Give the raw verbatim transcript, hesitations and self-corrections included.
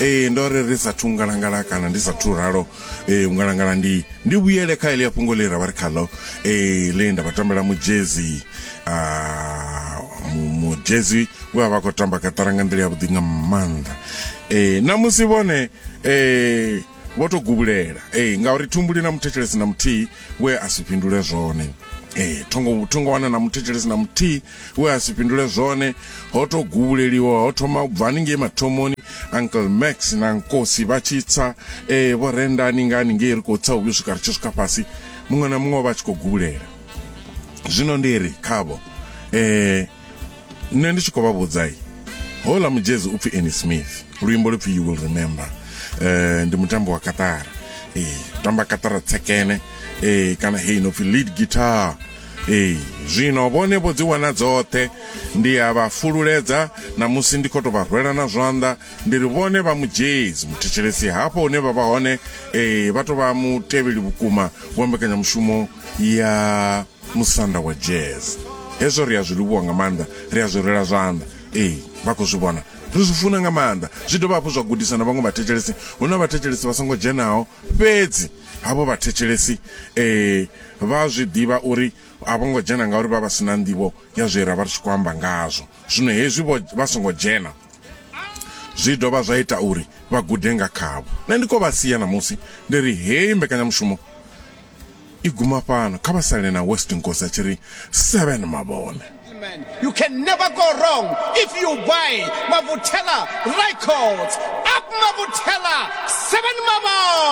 Eh ndo ri ri sathu ngalangala kana ndi sathu ralo eh ngalangala ndi ndi vhuyele kha ile fhungo le ra vha ri khalo eh le nda vha tambela mujezi ah mujezi we vha khou tamba katara nga nḓila ya vhuḓi nga maanḓa. Eh na musi vhone eh vho to gubulela eh ngauri thumbuli na muthetshelesi na muthihi we a si fhindule zwone. Eh thongo thongo wana na muthetshelesi na muthihi we a si fhindule zwone, ho to gubuleliwa ho thoma u bva haningei mathomoni Uncle Max na Nkosi vha tshi tsa eh vho rendani ngani ngei ri khou tsa u vhuya swika ri tshi swika fhasi, muṅwe na muṅwe vha tshi khou gubulela. Zwino ndi ri khavho eh nṋe ndi tshi khou vha vhudza hola mujezi upfi Annie Smith, luimbo lu pfi You Will Remember. Eh ndi mutambo wa katara, eh tamba katara tsekene eh kana hey no pfi lead guitar. Eh zwino vhone vho dzi wana dzoṱhe, ndi ya vha fululedza na musi ndi khou to vha rwela na zwanḓa, ndi ri vhone vha mujezi muthetshelesi hafho hune vha vha hone eh vha to vha mutevheli vhukuma wa mbekanyamushumo ya musanda wa jazz. Hezwo ri a zwi livhuwa nga maanḓa, ri a zwi rwela zwanḓa. Eh vha khou zwi vhona, ri zwi funa nga maanḓa. Zwi dovha hafhu zwa gudisa na vhaṅwe vhathetshelesi. Hu na vhathetshelesi vha songo dzhenaho, fhedzi havho vhathetshelesi eh vha zwi ḓivha uri a vho ngo dzhena ngauri vha vha sina nḓivho ya zwe ra vha ri tshi khou amba ngazwo. Zwino hezwi vha songo dzhena zwi dovha zwa ita uri vha gude nga khavho. Nṋe ndi khou vha sia namusi ndi ri heyi mbekanyamushumo i guma fhano, kha vha sale na West Nkosi a tshi ri seven mavhone. You can never go wrong if you buy Mavutela Records. Up Mavutela, seven Mavone.